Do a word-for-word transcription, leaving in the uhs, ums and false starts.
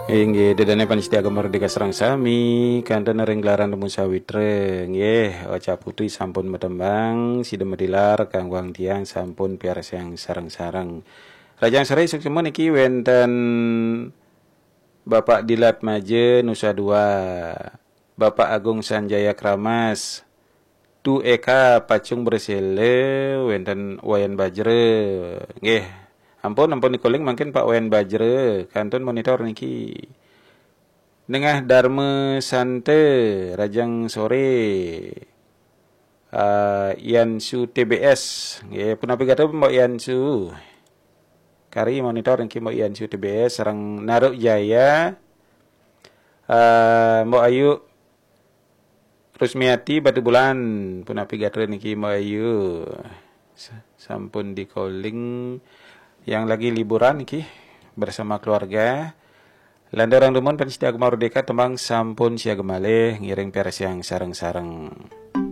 Inggih, ida dané pamiarsa Gema Merdeka sareng sami, kantun ring gelaran Dumun Sawitra. Nggih, Ocha Putri sampun matembang, sida madilar kangguang tiang sampun piarsayang sareng-sareng. Rahajeng soré suksma niki wénten Bapak Dilat Maja Nusa Dua, Bapak Agung Sanjaya Kramas, Tu Eka Pacung Bersela, wénten Wayan Bajra. Nggih, ampun, ampun dikoling mangkin Pak Wayan Bajra, kantun monitor niki. Nengah Darma Santa, rahajeng soré. Ah, Yansu T B S. Nggih, punapi gatra Mbok Yansu? Kari monitor niki Mbok Yansu T B S, sareng Naruk Jaya. Ah, Mbok Ayu Rusmiati Batubulan, punapi gatra niki Mbok Ayu? Sa-, sampun dikoling, yang lagi liburan niki bersama keluarga. Lanturang dumun pamiarsa Gema Merdeka, tembang sampun siaga malih, ngiring piarsayang sareng-sareng.